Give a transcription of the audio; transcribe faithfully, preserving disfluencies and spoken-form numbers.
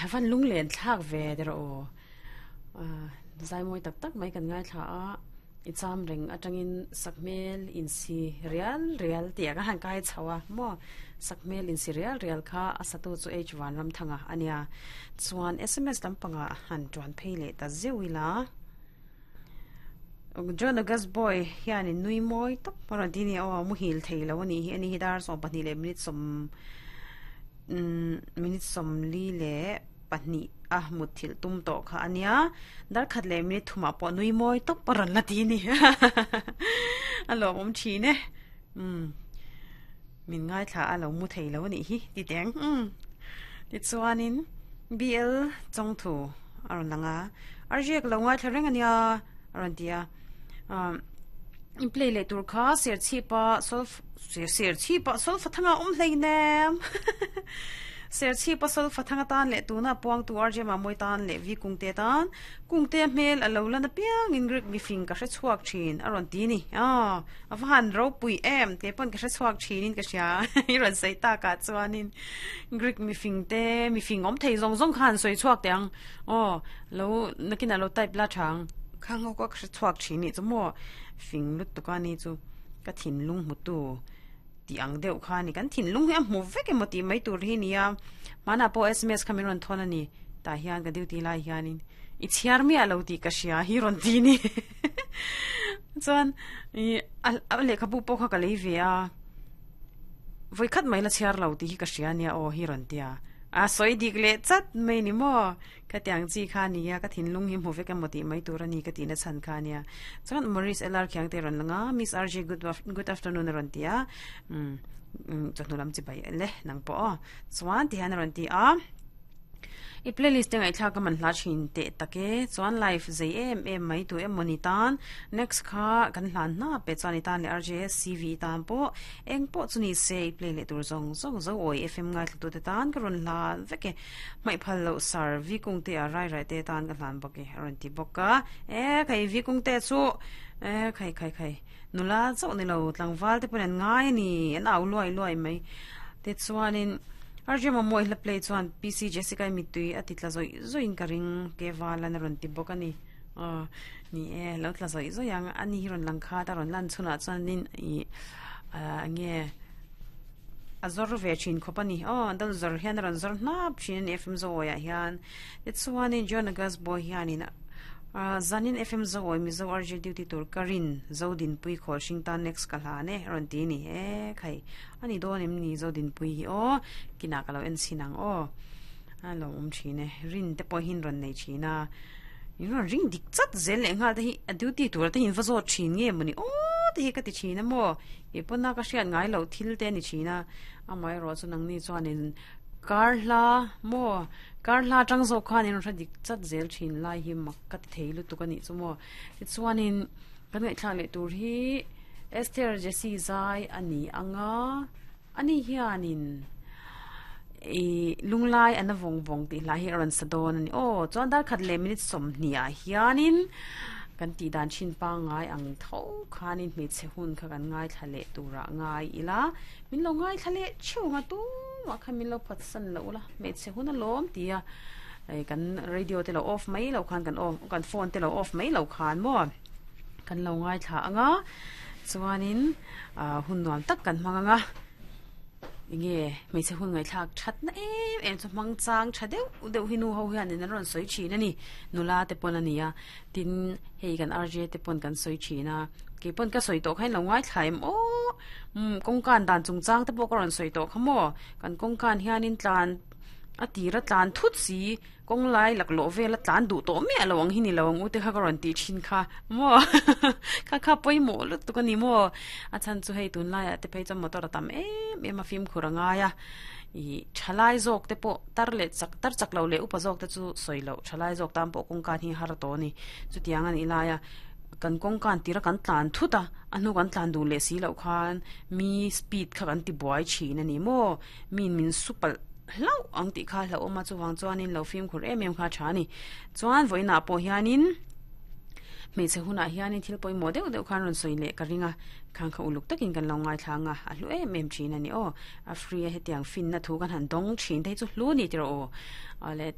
Van lung len thlak ve der o. Zai mawi tak tak mai kan ngai thla a. I cham reng atangin sakhmel in si rial rial tih a han kai chho a maw sakhmel in si rial rial kha a satu chu H Vanram thanga ania. Chuan S M S lampanga han tuan phei leh ta zeuh ila. John August Boy hianin nui mawi tawp a rawn ti a ni. Aw, muhil thei lo ani hi ani hi dar sawm pahnih leh minute sawm minute sawm li leh pahnih a mut thil tum tawh kha ania. Dar khat leh minute thumah pawh nui mawi tawp a rawn la ti ni. A lawm awm thin e. um min ngai thla a lo mu thei lo ani hi ti teng. um tichuanin B L chawngthu a rawn lang a. Arziak lo ngai thla reng ania a rawn ti a. um in play leh tur kha ser chhipa solf ser ser chhipa solfa thanga awm hlei nem. Ser chhipa solfa thanga tan leh tuna puang tu R J ma moi tan leh vi kungte tan kungte hmel alo lana piang in Greek mi fing ka hre chhuak thin a rawn ti ni. A ava han ro pui em te pon ka hre chhuak thin in ka hria i rawn sei ta ka chuanin Greek mi fing te mi fing om thei zong zong khan soi chhuak teng o lo nakina lo type la thang khang ho ka hre chhuak thin ni chu mo fing lut tu ka ni chu ka thin lung mu tu ti ang deuh kha ni. Kan thin lung hi a hmu vek emaw ti mai tur hi nia. Mana po S M S khamin rawn thon ani ta hian ka duty lai hianin i chhiar mi alo ti ka hria hi rawn ti ni. Chuan i a lehkhabu pawh kha ka lei ve a, voi khat mai la chhiar lo ti hi ka hria nia aw hi rawn tia. A sawi dik leh chat mai ni maw. Ka tiang chi kha nia, ka thinlung hi hmu vek emaw ti mai tur ani ka ti na chhan kha nia. Chuan Maurice L R khiang te rawn langa. Miss R J, good good afternoon a rawn ti a. um chawhnu lam chi bai le nang pawh aw. Chuan ti hian a rawn ti a. I playlist te ngaithla ka man hla thin te take. Chuan live zei em em mai tu em moni tan next kha kan hlan na pe. Chuan i tan le R J C V tan pawh eng pawh chu ni se i play le tur zong zong zo oi F M ngai thlu tu te tan ka ron hlan veke mai phal lo sar vi kung te a rai rai te tan ka hlan bawk e a rawn ti bawk a. E khai, vi kung te chu e khai khai khai nula chauh ni lo tlangval te pawn an ngai ani an au luai luai mai te. Chuanin R J Mamoi hla play chuan P C Jessica mitui ati tla zoi zoin ka ring ke walan a rawn ti bawk ani. Ni e, lo tla zoi zoi ang ani hi rawn lang kha ta rawn lan chhunah chuanin i nge a zor ve thin khawp ani aw. Dal zor hian a rawn zor hnap thin ani F M Zoawi ah hian. Tichuanin John August Boy hianin zanin F M Zoawi Mizo R J duty tur karin Zodin pui khawl hring tan next ka hlan e rawn ti ni. E khai, ani dawn em ni Zodin pui hi aw? Kina ka lo en chinang aw. A lo awm thin e. Rin te pawh hin rawn nei thin a. In rawn ring dik chat zel leh nghal te hi a duty tur te hin va zawt thin nge mawni aw te hi ka ti thin a maw. Ke pawn a ka hriat ngai lo thil te ani thin a. Amah erawh chu nangni chuanin kar hla maw kar hla tang zawk khan in rawn dik chat zel thin lai hi mak ka ti thei lutuk ani chu maw. Tichuanin kan ngaihthlak leh tur hi Esther Jessie zai ani anga. Ani hianin i lunglai ana vawng vawng tih hla hi a rawn sa dawn ani aw. Chuan dar khat leh minute sawm hnih ah hianin kan tih dan thin pangai ang tho khanin hmeichhe hun kha kan ngai thla leh turah ngai ila. Min lo ngai thla leh theuh nga tu mah khan min lo phat san lo la. Hmeichhe hun a lawm tia kan radio te lo off mai lo khan, kan off kan phone te lo off mai lo khan maw kan lo ngai thla anga. Chuanin hun nuam tak kan hmang anga. Nge hmeichhe hun ngai thlak that na em em chu hmang chang tha deuh deuh hi nu ho hian in an rawn sawi thin ani. Nula te pawn ani a. Tin, hei kan R J te pawn kan sawi thin a. Ke pawn ka sawi tawh khain lo ngai thlai em aw? um kawngkan dan chungchang te pawh ka rawn sawi tawh kha maw. Kan kawngkan hianin tlan a tira tlan thut si kawng lai laklawh vela tlan duh tawh miah lo ang hi ni lo ang u te kha ka rawn ti thin kha maw. Kha kha pawimawh lutuk ani maw. A chhan chu hei tun laiah te phei chuan motor a tam em em a, fimkhur a ngai a. I thalai zawk te pawh tar leh chak tar chak lo leh upa zawk te chu sawi lo, thalai zawk tan pawh kawngkan hi har tawh ani. Chutiang ani laia kan kawngkan tira kan tlan thut a, a hnu kan tlan duh leh si loh khan mi speed kha kan ti buai thin ani maw. Min min supal hlau ang tih kha hlau awma. Chuwang chuanin lo fimkhur em em kha tha ni. Chuan voina pawh hianin hmeichhe hunah hianin thil pawimawh deuh deuh khan rawn sawi leh ka ringa. Khang kha uluk takin kan lo ngai thlanga a hlu em em thin ani aw. A free a hetiang fin na thu kan han dawng thin te chu hlu ni tiro aw. Ale.